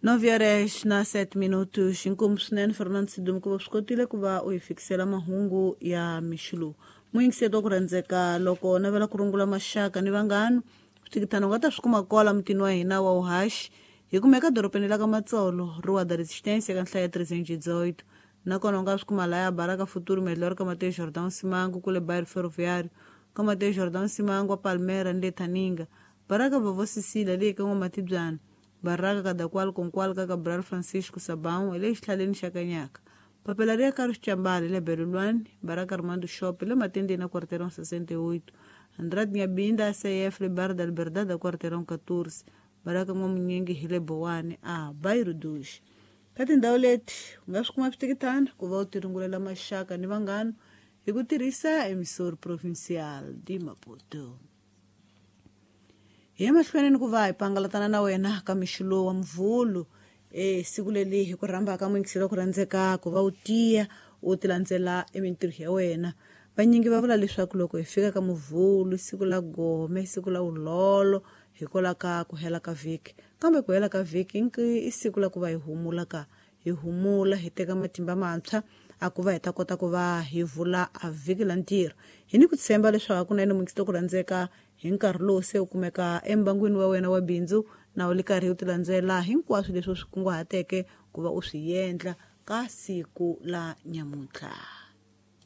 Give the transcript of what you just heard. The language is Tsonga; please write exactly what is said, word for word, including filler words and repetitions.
Nove horas na sete minutos. Inkomu swinene Fernando Sidumo ku va swi kotile ku va u hi fikisela mahungu ya mixilo. Muyingiseti wa ku rhandzeka, loko navela ku rungula maxaka ni vanghana, switikitana u nga ta swi kuma kwala mutini wa hina wa Uhashi. Hi kumeka dorobeni la ka Matsolo, Rua da Resistência, ka nhlaya ya trezentos e dezoito. Nakona u nga swi kuma laya Baraka Futuro Melhor ka Mateus Jordão Simango, kule bairro Ferroviário, ka Mateus Jordão Simango, Palmeiras, ni le Thaninga. Baraka Vovó Cecília, leyi ka N'wamatibyana. Baraka Kadakwal Konkwal ka Cabral Francisco Sabão, le xihlaleni xa Kanyaka. Papela ri ya Carlos Chambali le Belulwani, Baraka Armando Shop le Matendeni na Quarteirão sessenta e oito. Andrade Nyabinda A C F le Bar da Liberdade da Quarteirão catorze. Baraka N'wamunyingi hi le Bowani a Bairro dos. Ka tindhawu leti u nga swi kuma switikitana ku va u tirungulela maxaka ni vanghana hi ku tirhisa Emissor Provincial de Maputo. Hi ya mahlweni ni ku va hi pangalatana na wena ka mixo lowu wa Muvhulu, e siku leri hi ku rhambaka muyingiseri wa ku rhandzeka ku va u tiya u ti landzela emintirho ya wena. Vanyingi va vula leswaku loko hi fika ka Muvhulu, siku la gome, siku la vulolo, hikwalaho ka ku hela ka vhiki. Kambe ku hela ka vhiki i siku la ku va hi humula ka hi humula, hi teka matimba mantshwa a ku va hi ta kota ku va hi vula a vhiki la ntirho. Hi ni ku tshemba leswaku hakunene muyingiseri wa ku rhandzeka, hi nkarhi lowu se u kumeka embangwini wa wena wa bindzu, na u li karhi u ti landzela hinkwaswo leswi u swi kunguhateke ku va u swi endla ka siku la nyamuntlha.